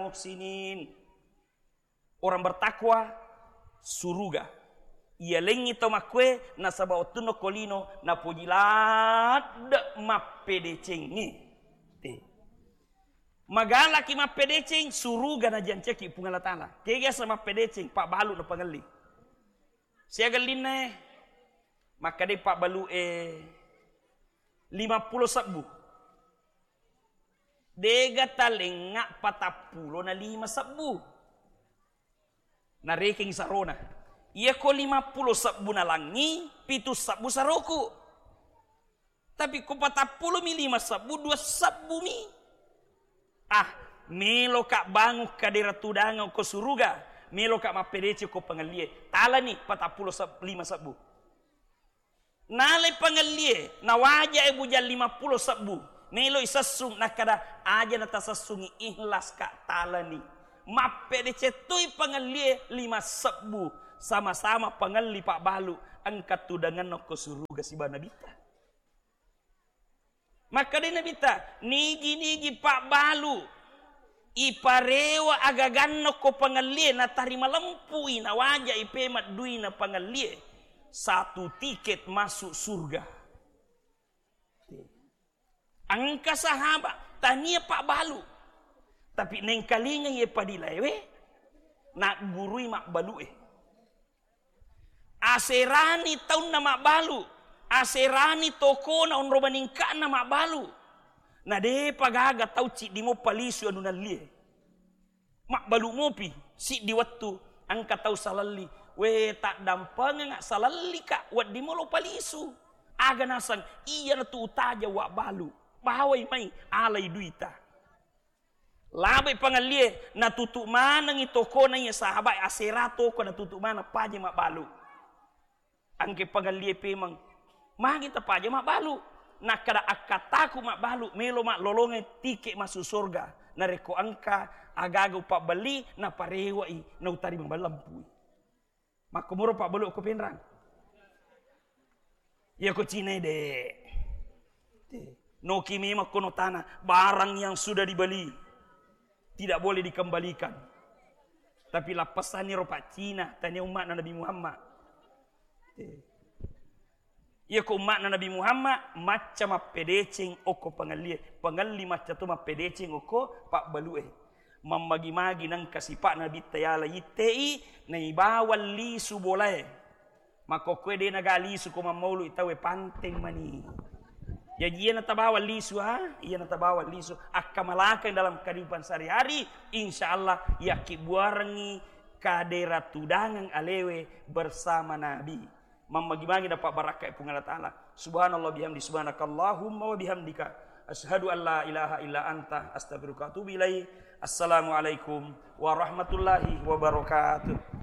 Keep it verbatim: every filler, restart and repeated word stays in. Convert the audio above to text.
muhsinin. Orang bertakwa, suruga. Iyalengngi tau makkue, nasaba wettunna ko lino, napoji ladde mappedecengnge. Te. Magalaki mappedeceng, suruga najancaki Puang Allah Ta'ala. Kegasa mappedeceng, pabbalu napangelli. Siaga linnae, makkadai pabbalu e lima pulo sebbu. Dega talengnga patappulo na lima sebbu. Narekeng sarona. Iyako lima pulo sebbu nalangngi, pitu sebbu saroku. Tapi ko patappulo mi lima sebbu, dua sebbu mi. Ah, meloka bangung kadera tudangeng ko suruga, meloka mappedeceng ko pangellie. Talani patappulo seb-, lima sebbu. Nalai pangellie, nawajae bujang lima pulo sebbu. Meloi sessung, nakkada, aja natasessungi, ikhlas ka, talani. Mappedeceng toi pangellie lima sebbu, sama-sama pangelli pabbalu, engka tudangenna ko suruga siba Nabitta. Makkadai Nabitta, nigi-nigi pabbalu iparewa agaganna ko pangellie, natari malempui, nawajai pemeng duina pangellie, satu tiket masuk surga. Engka sahabat tania pabbalu, tapi nengkalinga ye padilaewe, naggurui mabbalu e. Aserani taunna mabbalu, aserani tokona onro maningka'na mabbalu. Na depa gaga tau ciddi mo palisu anu nallie. Mabbalu mopi, siddi wettu, engka tau salalli. We, taddampengeng salalli ka, wedding molo palisu. Aga naseng, iyanatu utaja wabbalu. Bawai mai, alai duita. Labai pangellie, natutu manengi tokona iya sahabat, asera toko natutu maneng paja mabbalu. Engke pangellie pemeng, magi tapaja mabbalu? Nakkada, akkataku mabbalu, melo maklolongeng tike masuk surga. Narekko engka agaga upabbelli, naparewai, nautari maballempui. Makkomoro pabbalu ko penrang. Iya ko Cina de. Noki memang kono tanah, barang yang sudah dibeli tidak boleh dikembalikan. Tapi lappasanni ro Pak Cina, tania umma'na Nabi Muhammad. Iya ko umma'na Nabi Muhammad, macca mappedeceng okko pangellie, pangelli macca to mappedeceng okko pabbalue. Mammagi-magi nengka sipa'na Nabitta yala ittei, naibawang lisu bolae. Makkokkoe de naga lisu ko mammaului tauwe, panteng mani. Jaji iya natabawang lisu, ha? Iya natabawang lisu. Akkamalakeng dalam kehidupan sehari-hari, insya Allah yakkibbuarengngi kadera tudangeng alewe bersama Nabi. Mammagi-magi dapat barakka Puang Allah Ta'ala. Subhanallah bihamdi, subhanakallahumma wa bihamdika. Asyhadu an la ilaha illa anta, astaghfiruka wa atubu ilaik. Assalamualaikum warahmatullahi wabarakatuh.